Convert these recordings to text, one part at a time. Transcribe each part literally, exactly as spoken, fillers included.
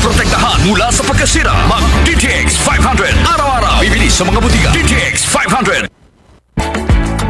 Protektahan mula sa pagkasira. Mag D T X five hundred. Araw-araw. Bibili sa mga butika. D T X five hundred.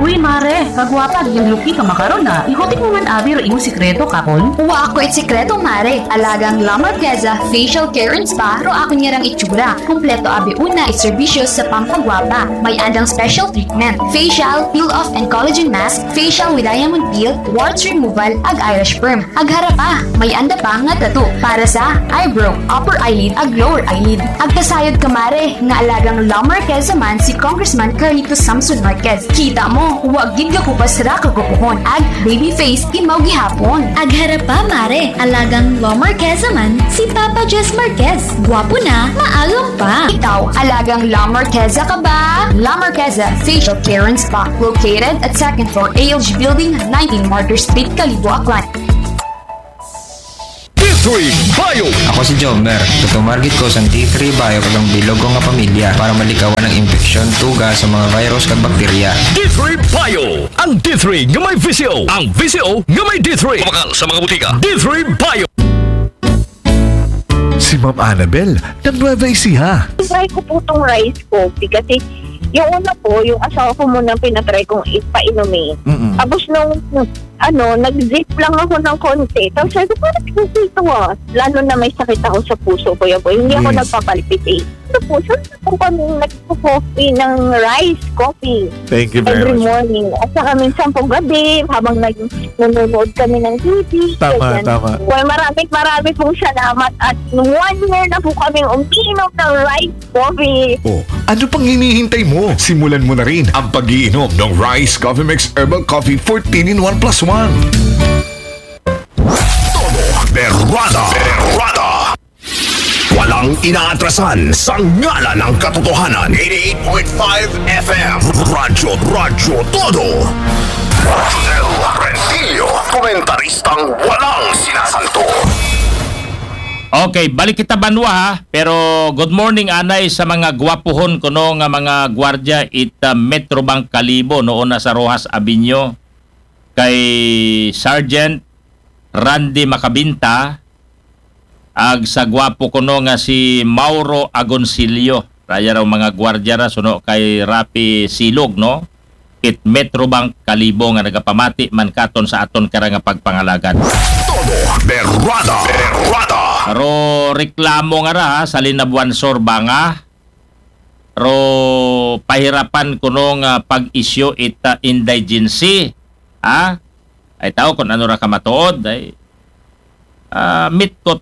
Uy, mare, kagwapa, ginluki ka makaron na. Ikutik mo man abi ro imo sikreto, kakon? Wa ako it sikreto, mare. Alagang La Marqueza Facial Care and Spa ro ako niyarang itsura. Kompleto abi una it serbisyo sa pampagwapa. May andang special treatment. Facial, peel-off and collagen mask, facial with diamond peel, warts removal, ag eyelash perm. Agharap pa, may anda pa nga tattoo para sa eyebrow, upper eyelid, ag lower eyelid. Agkasayod ka mare, nga alagang La Marqueza man si Congressman Carlito Samson Marquez. Kita mo, wa gid gakupas ra kagupuhon. Ag baby face imaw gihapon. Agharap pa mare, alagang La Marqueza man si Papa Jess Marquez. Gwapo na, maagom pa. Ikaw, alagang La Marqueza ka ba? La Marqueza Facial Care and Spa, located at second floor A L G Building, nineteen Martyr Street, Kalibo, Aklan. D three Bio. Ako si Jomer. Tutumarget ko sa D three Bio kag ang bilog ko nga pamilya para malikawan ang impeksyon, tuga sa mga virus kag bakterya. D three Bio. Ang D three nga may V C O. Ang V C O nga may D three. Mabakal sa mga butika. D three Bio. Si Ma'am Annabel, ng Nueva Ecija. Try ko po itong rice coffee kasi yung una po, yung asawa ko muna pinatry kong ipainumin. Mm-mm. Tapos nung ano, nag-zip lang ako ng konti. Tapos sabi ko, parang okay ito ah. Lalo na may sakit ako sa puso, Kuya Boy. Hindi ako Yes. nagpapalpitate. Sa puso, po kami nagpo-coffee ng rice coffee Thank you every very much. morning. At saka minsan po gabi, habang nag- nanonood kami ng T V. Tama, ganyan. tama. Well, maraming maraming pong salamat at one year na po kaming umiinom ng rice coffee. Oh, ano pang hinihintay mo? Simulan mo na rin ang pag-iinom ng Rice Coffee Mix Herbal Coffee fourteen in one plus one. Todo Berrada. Berrada. Walang inaatrasan sa ngalan ng katotohanan. Eighty-eight point five F M. Radyo, Radyo Todo. Rodel Rentillo, komentaristang walang sinasanto. Okay, balik kita banwa ha. Pero good morning anay sa mga gwapuhon kuno nga mga gwardya it uh, Metrobank Kalibo noon na sa Roxas Avenue kay Sergeant Randy Macabinta ag sa gwapo kuno nga si Mauro Agoncillo. Raya raw mga gwardya ra suno kay Rapi Silog, no? It Metrobank Kalibo nga nagapamati man katon sa aton kara nga pagpangalagad. Todo Berrada. Berrada. Ro reklamo nga ra ha, sa Linabuan Sur ba nga? Ro pahirapan kuno nga pag-issue it uh, indigency. Ha? Ay tao kung ano ra ka matuod ay ah, mitkot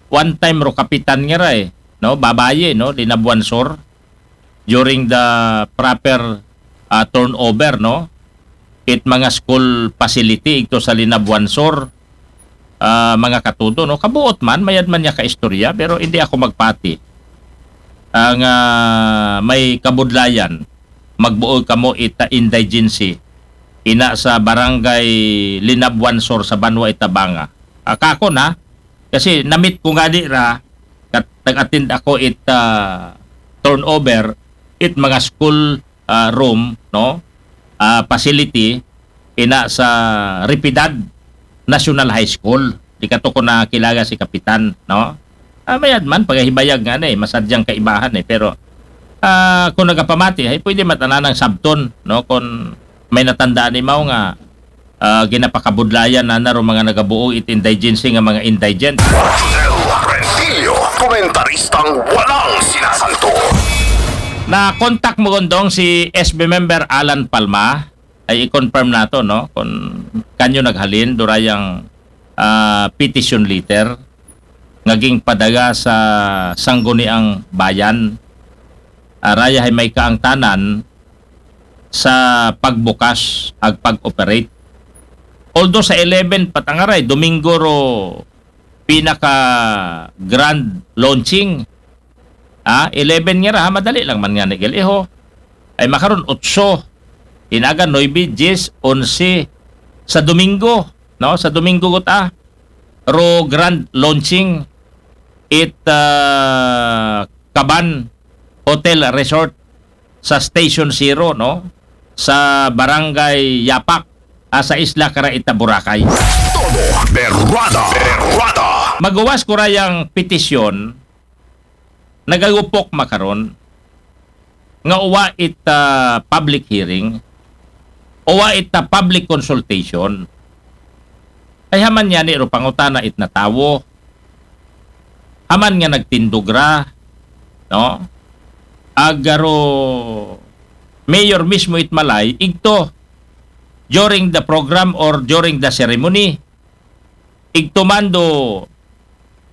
one time ro kapitan nga ra eh, no? Babaye, no? Linabuan Sur during the proper ah, turnover, no? It mga school facility ito sa Linabuan Sur, ah, mga katudo, no? Kabuot man, mayad man niya ka istorya, pero hindi ako magpati. Ang ah, may kabudlayan, magbuo kamo ita indigency, ina sa barangay Linabuan Sur sa Banwa Itabanga. Akako na, kasi namit ko nga di ra, kat, nag-attend ako it ah, turnover, it mga school ah, room, no? Ah, facility, ina sa Ripidad National High School. Di ka to ko nakilaga si Kapitan, no? Ah, mayad man, pagahibayag nga na eh, masadyang kaibahan eh. Pero ah, kung nagapamati, ay pwede matananang sabton, no? Kung may natandaan imaw nga ah, ginapakabudlayan na naro mga nagabuo it indigency nga mga indigent. Rodel Rentillo, komentaristang walang sinasanto. Na-contact mo gondong si S B member Alan Palma, ay i-confirm nato, no? Kung kanyo naghalin, durayang ah, petition letter nga gingpadaga sa Sangguniang Bayan. Araya hay may kaangtanan sa pagbukas ag pag-operate. Although sa eleven patangaray, Domingo ro pinaka grand launching. Ah, eleven nga ra, ha, madali lang man nga ni Galiho. Ay makaron, otso. Inaga, nuebe, diyes, onse. Sa Domingo, no? Sa Domingo guta. Ro grand launching it ah, Kaban Hotel Resort sa Station Zero, no? Sa Barangay Yapak, ah, sa Isla Karaita, Boracay. Todo Berrada. Berrada. Magawas ko ra yang petisyon, nagagupok makaron nga uwa it, ah, public hearing, uwa it, ah, public consultation. Ay haman niya ni ro pangutana it natawo. Haman nga nagtindog ra, no? Agaro mayor mismo it malay, igto during the program or during the ceremony. Igto man do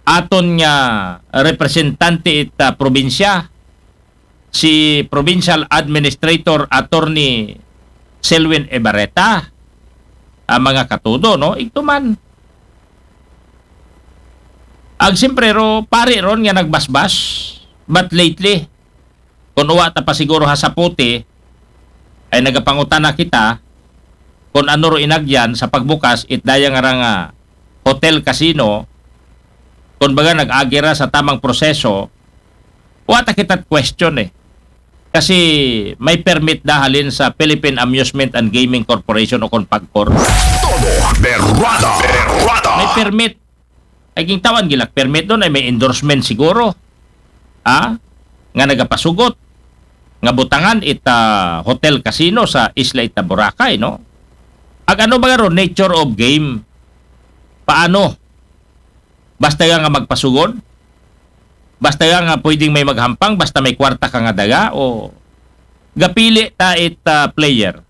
aton nga representante it, ah, probinsya, si Provincial Administrator Attorney Selwyn Ebareta, ang mga katudo, no? Igto man. Ag siyempre ro, pari ron nga nagbasbas, but lately, kung uwa ta pa siguro ha Saputi, ay nagapangutana kita kung ano ro inagyan sa pagbukas it daya nga ra nga hotel casino, kung baga nag-agi ra sa tamang proseso, wa ta kita question eh. Kasi may permit da halin sa Philippine Amusement and Gaming Corporation o kon PAGCOR. Todo berwada, berwada. May permit. Ay gintawan gilak permit doon ay may endorsement siguro. Ha? Nga nagapasugot nga butangan ita hotel casino sa isla ita Boracay, no? Ag ano ba ro nature of game? Paano? Basta nga magpasugod? Basta nga pwedeng may maghampang, basta may kwarta ka nga daga o gapili ta it, ah, player.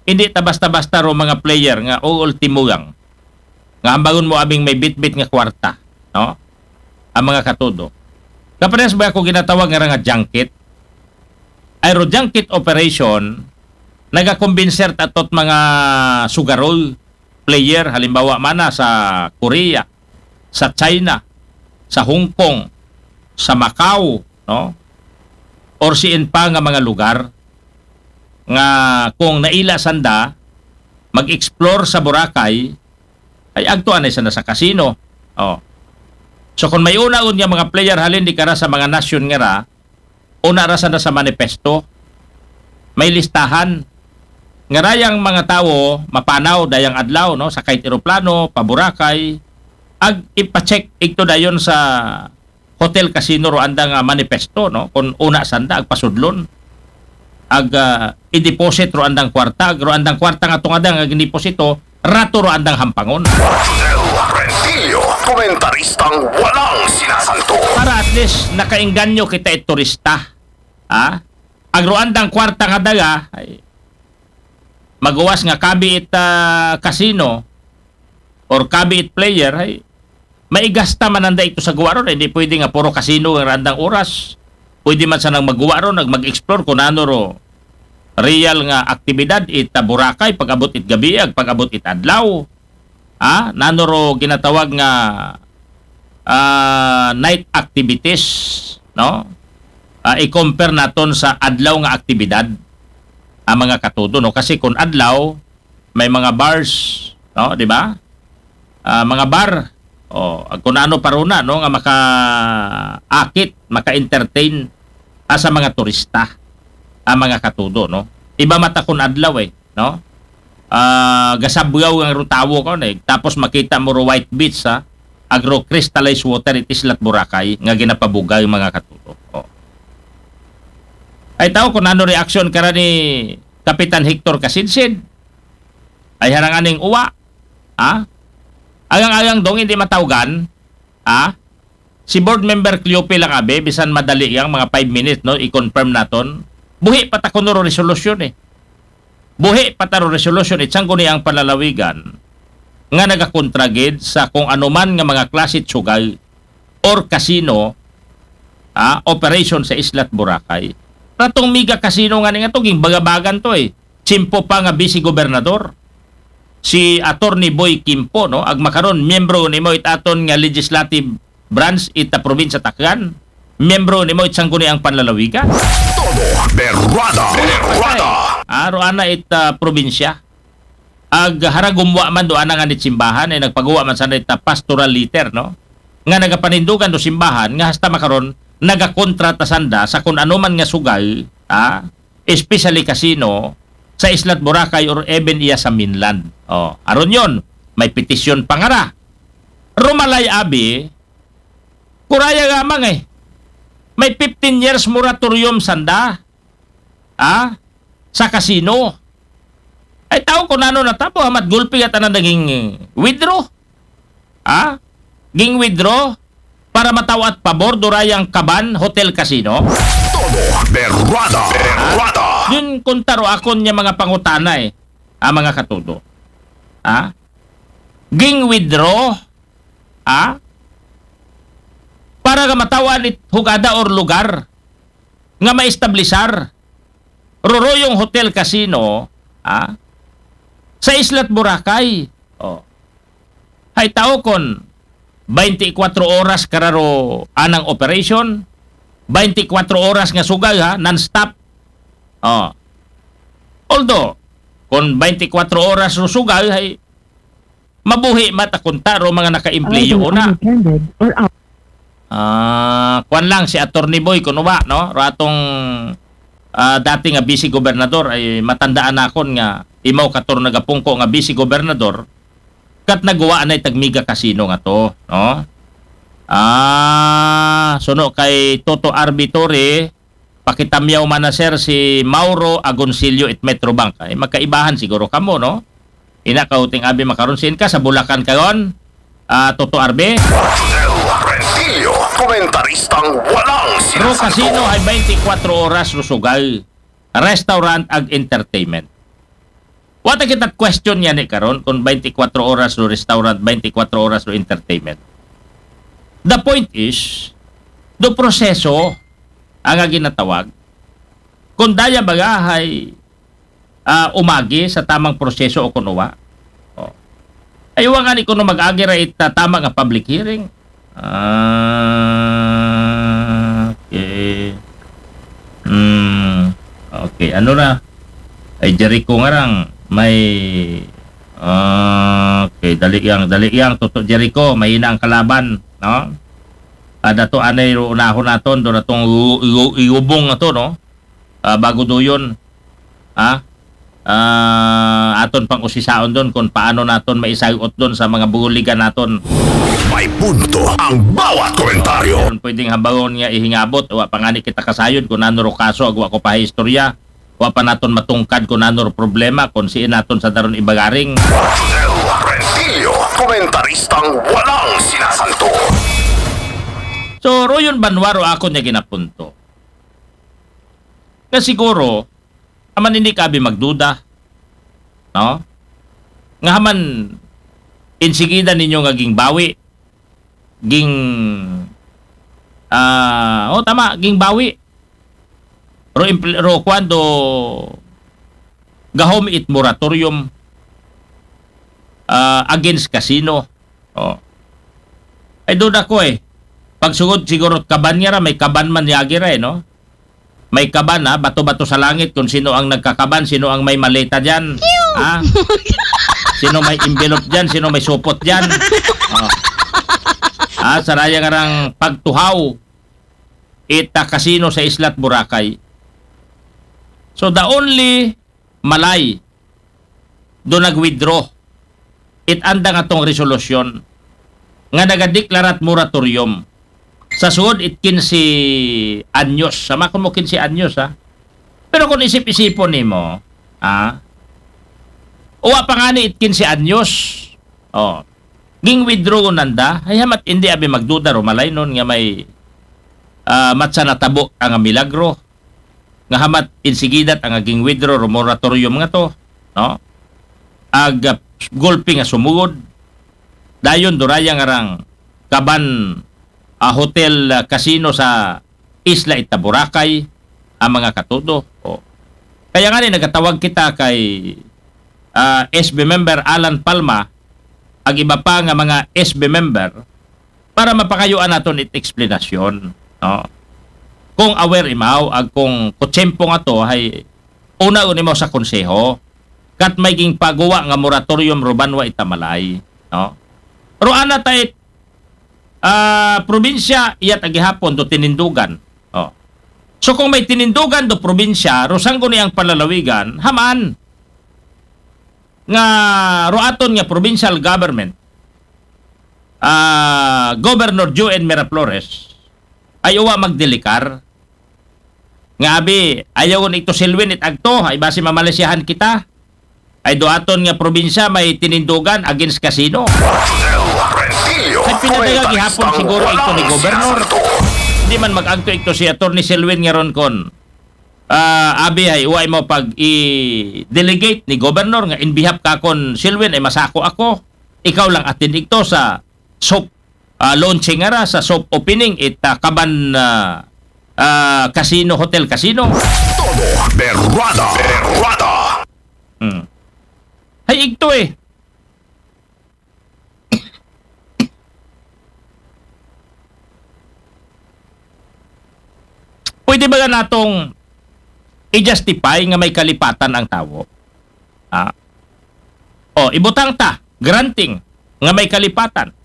Hindi ta basta-basta ro mga player nga o ultimo lang. Nga hambangon mo abing may bitbit nga kwarta, no? Ang mga katudo. Kapares ba ako ginatawag nga ra nga junket? Ay ro junket operation, nagakumbinser tatot mga sugarol player, halimbawa mana sa Korea, sa China, sa Hong Kong, sa Macau, no? Or siin pa nga mga lugar nga kung naila sanda mag-explore sa Boracay, ay agtuan ay sanda sa casino. Oh. So kung may una nga mga player halin di kara sa mga nasyon nga ra, una ra sanda sa manifesto, may listahan nga ra yang mga tawo mapanaw dayang adlaw, no, sa kahit eroplano pa Boracay, ag ipacheck igto dayon sa hotel casino ro andang, ah, manifesto, no, kung una sanda agpasudlon, ag, ah, i-deposit ro andang kwarta, ag ro andang kwarta nga tungada nga giniposito, rato ro andang hampangon. Rentillo, komentaristang walang sinasanto. Para at least nakaengganyo kita it turista. Ha? Ag ro andang kwarta nga daga, ay, magawas nga kabi it, ah, casino or kabi it player, ay, maigasta man anda ito sa guwa ron. Hindi pwede nga puro casino ang randang oras. Pwede man sanang maguwa ron, ag mag-explore kung ano ro real nga aktibidad ita Boracay pag-abot it gabi, ag pag-abot it adlaw. Ah, nano ro ginatawag nga, ah, night activities, no? Ah, i-compare naton sa adlaw nga aktibidad ang mga katudo, no? Kasi kung adlaw, may mga bars, no, di ba? Ah, mga bar, o kung ano pa runa, no, nga makaakit, maka-entertain, ah, sa mga turista, ang mga katudo, no? Iba mata kung adlaw eh, no? Ah, gasabgaw ang ro tawo ko, eh. Tapos makita mo ro white beach, ha? Ag ro crystallized water it islat Boracay nga ginapabugaw, mga katudo. Oh. Ay tao kung ano reaksyon kara ni Kapitan Hector Kasinsin. Ay haranganing uwa. Ha? Agang-agang dong hindi matawgan. Ha? Si Board Member Cleope lang abi, bisan madali yang mga five minutes, no, i-confirm naton. Buhi pa ta kuno ro resolusyon eh. Buhi pa ta ro resolusyon it sangguniang panlalawigan nga nagakontra gid sa kung anuman nga mga klase sugal or casino, ah, operation sa Islat Boracay. Ratong mega casino nga ni nga to, ginbagabagan to eh. Tsimpo pa nga vice gobernador si Attorney Boy Kimpo, no? Ag makaron, miyembro nimo it aton nga legislative branch ita probinsya Tacloban. Miyembro nimo it sangguniang panlalawigan. Todo berwada, berwada. Aro ana it, ah, probinsya. Ag haragumwa man do ana nga ni simbahan ay nagpaguwa man sana ita pastoral letter, no? Nga nagapanindugan do simbahan nga hasta makaron nagakontrata sanda sa kun ano man nga sugal, ah, especially casino sa Islat Boracay or even iya sa mainland. Oh, aron yon, may petisyon pa nga ra. Rumalay abi, kuraya nga mang eh. May fifteen years moratorium sanda. Ah? Sa casino. Ay tao ko nano natabo, hamat gulpi at anan naging withdraw. Ah? Ging withdraw para matawat pabor durayang Kaban Hotel Casino. Todo berrada, berrada. Yun kuntaro akon niya mga pangutanay, ah, mga katudo. Ah? Ging withdraw, ah? Para nga matawat it hugada or lugar nga maestablisar ruruyong Hotel Casino, ah? Sa Islat Boracay. Oh. Hay tao kon twenty-four oras kararo anang operation, twenty-four oras nga sugal ha, non-stop. Oh. Although, kon twenty-four oras ro sugal, hay mabuhi mata kunta ro mga nakaempleyo una. Ah, kuan lang si Attorney Boy kuno ba, no? Ratong ah, dati nga vice gobernador ay matandaan nakon nga imaw kator nagapungko nga vice gobernador kat nagawa na itag mega casino nga to, no? Ah, suno kay Toto Arbitore, pakitamyaw man na sir si Mauro Agoncillo it Metrobank. Ay magkaibahan siguro kamo, no? Ina ka uting abi makaron, siin ka sa Bulacan karon? Ah, Toto Arbe? Rosel Rentillo, komentaristang walang Ro sinasagot. Casino ay twenty-four oras ro sugal, restaurant ag entertainment. Wata kita question niya ni karon kung twenty-four oras ro restaurant, twenty-four oras ro entertainment. The point is, do proseso ang ginatawag kung daya bagahay ah, umagi sa tamang proseso o kuno wa. Oh. Ay wa nga ni kuno mag-agi ra ita tama nga public hearing. Ah, okay. Hmm. Okay, ano na? Ay Jericho nga rang may ah, okay, dali yang, dali yang, Toto Jericho, mahina ang kalaban, no? Ada to anay ro unahon naton, do natong iu- iu- iubong na to, no? Ah, bago do yun, ha? Ah, aton pang usisaon doon kung paano naton maisayot doon sa mga buligan naton. May punto ang bawat komentaryo. Kung pwedeng habangon nga ihingabot, wa pa nga ni kita kasayod kung ano ro kaso, agwa ko pa istorya. Wa pa naton matungkad kung ano ro problema, kung siin naton sa daron ibagaring. Rosel Rentillo, komentaristang walang sinasanto. So, royon banwa ro ako niya ginapunto. Nga siguro, aman hindi ka abi magduda. No? Nga haman, insigida ninyo nga ging bawi. Ging, ah, oh, tama, ging bawi. Ro, impl- ro, kwando gahom it moratorium ah, against casino. Oh. Ay, duda ko eh. Pagsugod siguro kaban niya ra, may kaban man niya agira eh, no? May kaban ha, bato-bato sa langit kung sino ang nagkakaban, sino ang may maleta dyan. Ha? Sino may envelope dyan, sino may supot dyan. Oh. Ah, saraya nga rang pagtuhaw ita kasino sa Islat Boracay. So the only malay do nag-withdraw it andang atong resolusyon nga nagadeklarat moratorium sa suod it kinse anyos. Sama ko mo kinse anyos, ha? Pero kung isip-isipon nimo, ha? Uwa pa nga ni it kinse anyos. Oh. Ging withdraw nanda, ay hamat hindi abi magduda ro malay nun nga may ah, matsa natabo ang milagro nga hamat insigidat ang aging withdraw ro moratorium nga to, no? Ag ah, gulpi nga sumugod dayon duraya nga rang kaban ah, hotel ah, casino sa isla ita Boracay ang mga katudo. O. Kaya nga ni nagatawag kita kay ah, S B member Alan Palma ag iba pa nga mga S B member para mapakayuan naton it eksplanasyon, no? Kung aware imaw ag kung kutsempo nga to hay una uni mo sa konseho kat may gingpaguwa nga moratorium ruban wa itamalay, no? Ro ana ta it ah, probinsya iyat agihapon do tinindugan. Oh. So kung may tinindugan do probinsya, ro sanggo ni ang palalawigan, haman nga ro aton nga provincial government ah, Governor Joen Miraflores ay uwa magdelikar. Nga abi, ayaw ni ito silwin it agto, ay basi mamalisiyahan kita. Ay do aton nga probinsya may tinindugan against casino. Ay pinadaga gihapon siguro ito ni Governor. Hindi man mag-agto ito si Attorney Silwin nga ron kon, ah, abi ay uwa mo pag i-delegate ni Governor nga in behalf ka kon Silwin ay masako ako. Ikaw lang atin ito sa soft, ah, launching ara sa soft opening it, ah, Kaban, ah, ah, Casino, Hotel Casino. Todo berrada, berrada. Hmm. Hay igto eh. Pwede ba natong i-justify nga may kalipatan ang tawo? Ah. O, ibutang ta, granting nga may kalipatan.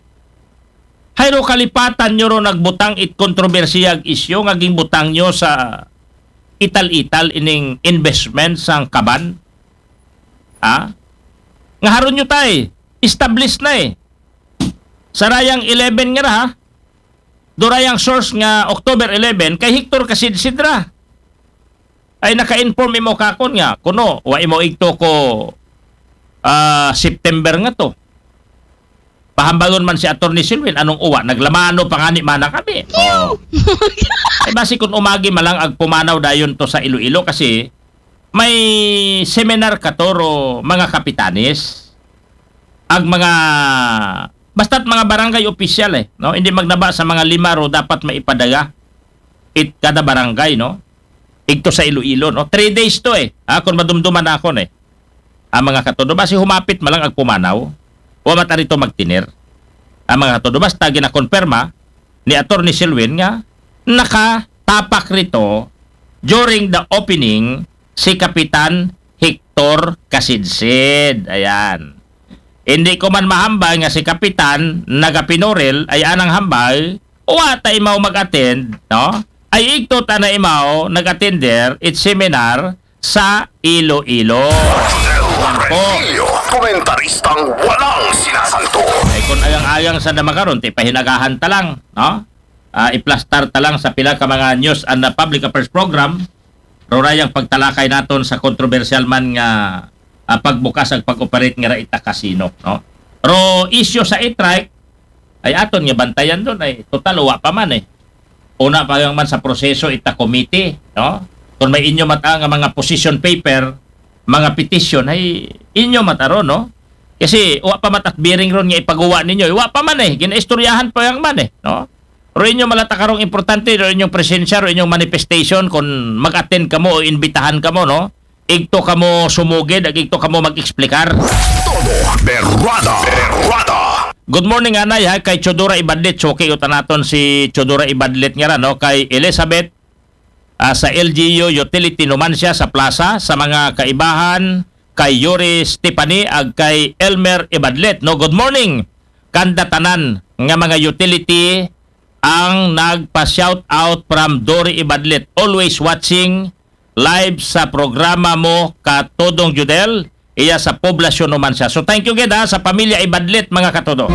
Hayro kalipatan nyo ro nagbutang it kontrobersiyag isyu nga ginbutang nyo sa ital-ital ining investment sang Kaban? Ha? Nga haron nyo tay, established na eh. Sa rayang eleven nga ra, ha? Durayang source nga October eleven, kay Hector Kasidsid ra. Ay naka-inform imo kakon nga, kuno, wa imo igto ko, ah, September nga to. Pahambagon man si Attorney Silwin, anong uwa, naglamano pa nga ni mana kami. Oh. Ay basi kung umagi malang agpumanaw dayon to sa Iloilo kasi may seminar katoro mga kapitanes, ag mga, basta't mga barangay opisyal eh, no? Hindi magnaba sa mga lima ro dapat maipadaga it kada barangay, no? Igto sa Iloilo, no? Three days to eh. Ha, kung madumduman ako eh. Ang mga katodo, basi humapit malang agpumanaw. Wa mat arito magtinir. Ang mga katodo, basta ginakonperma ni Attorney Silwin nga nakatapak rito during the opening si Kapitan Hector Kasidsid. Ayan. Hindi ko man mahambal nga si Kapitan nagapinoril ay anang hambal, wa ta imaw mag-attend, no? Ay igto ta na imaw nag-attender it seminar sa Iloilo. Marcel Rentillo, komentaristang walang sinasanto. Ay kung ayang-ayang sa damakaron, ti pahinagahan ta lang, no? Ah, iplastar ta lang sa pila ka mga news and, ah, public affairs program, rurayang pagtalakay naton sa kontrobersyal man nga, ah, pagbukas ag pag-operate nga ra ita casino, no? Ro isyu sa e-trike, ay aton nga bantayan doon, ay total, wa pa man eh. Una pa lang man sa proseso ita committee, no? Kung may inyo mata nga mga position paper, mga petition, ay inyo mataro, no? Kasi wa pa matat bearing ron nga ipaguwa ninyo. Wa pa man eh, ginaistoryahan pa yang man eh, no? Pero inyo malata karong importante, ro inyong presensya, ro inyong manifestation, kung mag-attend kamo o imbitahan kamo, no? Igto kamo sumugid, ag igto kamo mag-explicar. Todo berrada, berrada. Good morning, anay, ha, kay Chodora Ibadlit. Suki utan naton si Chodora Ibadlit nga ra, no? Kay Elizabeth, ah, sa L G U Utility Numancia sa plaza, sa mga kaibahan, kay Yuri Stephanie, ag kay Elmer Ibadlit, no? Good morning. Kanda tanan nga mga utility ang nagpa-shout out from Dory Ibadlit. Always watching live sa programa mo, Katodong Judel. Iya sa Poblasyon Numancia. So thank you gid ha, sa pamilya Ibadlit, mga katodo.